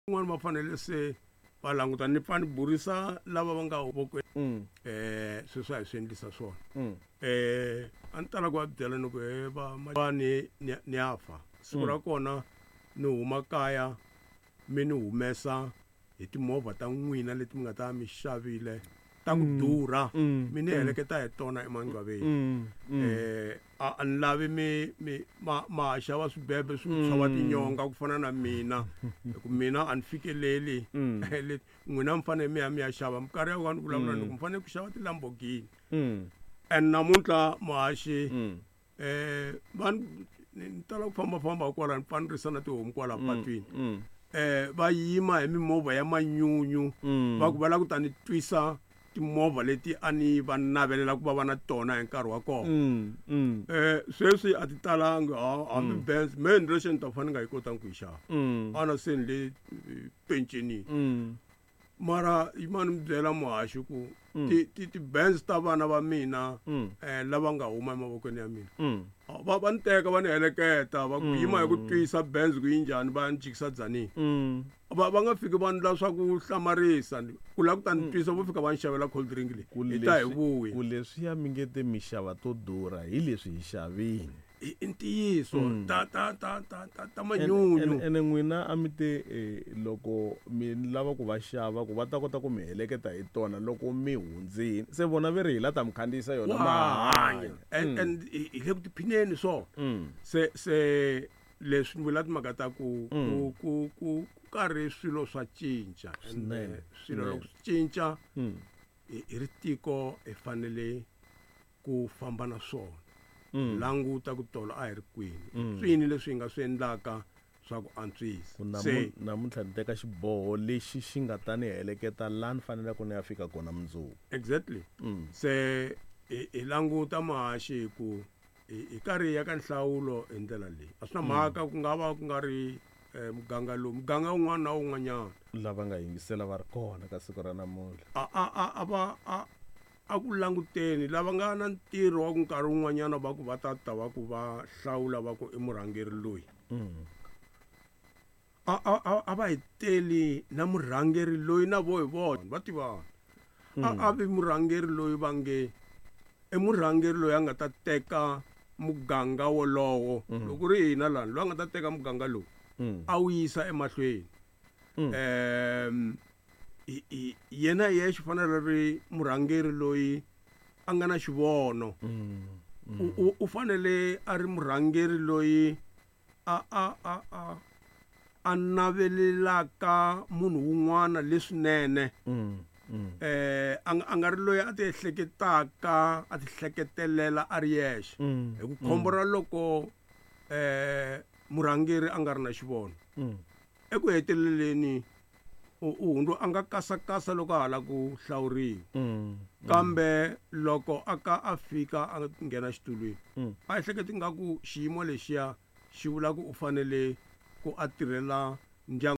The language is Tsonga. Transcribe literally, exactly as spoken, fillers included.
Van'wana va fanele se va languta ni pfa ni burisa lava va nga vokweni Mm. eh sweswi a hi swi endlisa swona. Mm. eh a ni tala ku va byela ni ku he va ma ni ni ni ya fa siku ra kona ni huma kaya mi ni humesa hi timovha ta n'wina leti mi nga ta mi xavile ta ku durha Mm. mi ni heleketa hi tona emangcwaveni. Mm. Mm. eh a a ni lavi mi mi ma ma xava swibebe swi tshova tinyonga ku fana na mina hi ku mina a ni fikeleli Mm. leti n'wina mi fanele mi ya mi ya xava minkarhi ya ni vulavula ni ku mi fanele ku xava ti-Lamborghini Mm. and namuntlha muhaxi Mm. eh va ni ni tala ku fambafamba kwala ni pfa ni risa na tihomu kwala patwini Mm. eh va yima hi mimovha ya manyunyu Mm. va ku va lava ku ta ni twisa timovha leti a ni va navelela ku va va na tona hi nkarhi wa kona. Mm. Mm. eh sweswi a ti talangi ha- hambi Benz me ni lexi ni ta fane ni nga yi kotangi ku yi xava Mm. ana se ni le eh, pensionini Mm. mara yimani mi byela muhaxi ku ti ti ti-Benz ta vana va mina Mm. eh lava nga huma emavokweni ya mina Mm. Ah, va va ni teka va ni heleketa va ku yima hi ku twisa Benz ku yi njhani va ni jikisa dzanini Mm. va va nga fiki va ndla swa ku hlamarisa ni- ku lava ku ta ni twisa vo fika va ni xavela cold drink leyi Ku hi ta hi leswi- vuya ku leswiya mi nge te mixava to durha hi leswi hi xavini i i ntiyiso ta ta ta ta ta ta Ene- manyunyu ene ene n'wina a mi te eh, loko mi lava ku va xava ku va ta kota ku mi heleketa hi tona loko mi hundzini se vona ve ri hi la ta mi khandziyisa yona wa ma hanya and and hi hi le ku tiphineni swona Mm. se se leswi ni vula timhaka ta ku ku ku ku ku karhi swilo swa cinca And, Swinene, eh, swilo swinene. loko swi cinca Mm. hi hi ri tiko hi fanele ku famba na swona Mm. languta ku tolo a hi ri kwini swini leswi hi nga swi endlaka swa ku antswisa Ku namu- se namuntlha ni teka xiboho lexi xi nga ta ni heleketa laha ni faneleke ni ya fika kona mundzuku exactly Mm. se hi hi languta muhaxi hi ku hi hi karhi hi ya ka nhlawulo hi ndlela leyi a swi na mhaka ku nga va ku nga ri eh, muganga lowu muganga wun'wana na wun'wanyana lava nga yingisela va ri kona ka siku ra namuntlha a a a a va a a ku languteni lava nga na ntirho wa ku nkarhi wun'wanyana va ku va ta ta va ku va hlawula va ku i murhangeri loyi Mm. a a a a va hi teli na murhangeri loyi na vo hi vona va tivana a a vi murhangeri loyi va nge i murhangeri loyi a nga ta teka muganga wolowo loko ku ri hina lani loyi a nga ta teka muganga lowu Mm. a wu yisa emahlweni Mm. um i- i- yena hi yexe fanele ri murhangeri loyi a nga na xivono Mm. U- u u fanele a ri murhangeri loyi a a a a a navelelaka munhu wun'wana leswinene Mm. Mm. eh a nga- a nga ri loyi a ti ehleketaka a ti hleketelela a ri yexe Mm. hi ku khombo ra loko eh murhangeri a nga ri na xivono Mm. eku heteleleni u u hundzu a nga kasakasa loko a ha la ku hlawuriwa Mm. kambe loko a ka a fika a nghena xitulwini Mm. a ehleketi nga ku xiyimo lexiya xi vula ku u fanele ku a tirhela ndyangu.